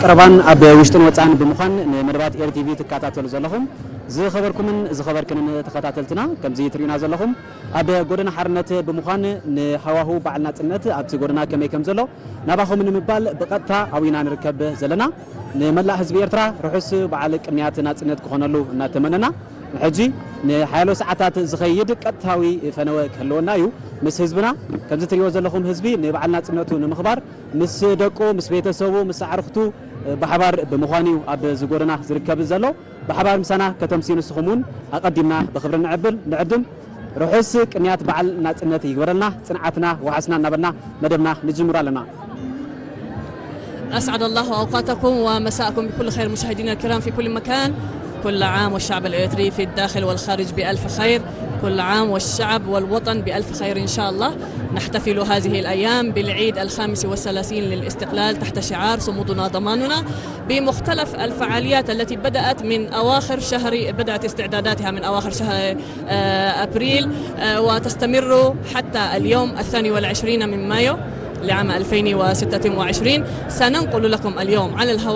ቀረባን ኣብ ውሽጥን ወፃን ብምዃን ንመደባት ኤር ቲቪ ትከታተሉ ዘለኹም ዝኸበርኩምን ዝኸበርክንን ተኸታተልትና፣ ከምዚ ትሪኡና ዘለኹም ኣብ ጎደና ሓርነት ብምዃን ንሃዋሁ በዓል ናፅነት ኣብቲ ጎደና ከመይ ከም ዘሎ ናባኹም ንምባል ብቐጥታ ኣብና ንርከብ ዘለና። ንመላእ ህዝቢ ኤርትራ ርሑስ በዓል ቅንያት ናፅነት ክኾነሉ እናተመነና፣ ንሕጂ ንሓያሎ ሰዓታት ዝኸይድ ቀጥታዊ ፈነወ ክህልወና እዩ። ምስ ህዝብና፣ ከምዚ ትሪእዎ ዘለኹም ህዝቢ ንበዓል ናፅነቱ ንምኽባር ምስ ደቁ፣ ምስ ቤተሰቡ፣ ምስ ኣዕርኽቱ ብሓባር ብምዃን እዩ ኣብ ዝጎደና ዝርከብ ዘሎ። ብሓባር ምሳና ከተምስዩ ንስኹም እውን ኣቐዲምና ብኽብሪ ንዕብል ንዕድም። ርሑስ ቅንያት በዓል ናፅነት ይግበረልና። ጽንዓትና ወሓስና እናበልና መደብና ንጅምር ኣለና። أسعد الله أوقاتكم ومساءكم بكل خير مشاهدينا الكرام في كل مكان. كل عام والشعب الإريتري في الداخل والخارج بألف خير. كل عام والشعب والوطن بألف خير إن شاء الله. نحتفل هذه الأيام بالعيد الخامس والثلاثين للاستقلال تحت شعار صمودنا ضماننا، بمختلف الفعاليات التي بدأت من أواخر شهر، بدأت استعداداتها من أواخر شهر آه، أبريل، آه، وتستمر حتى اليوم الثاني والعشرين من مايو لعام ألفين وستة وعشرين. سننقل لكم اليوم على الهواء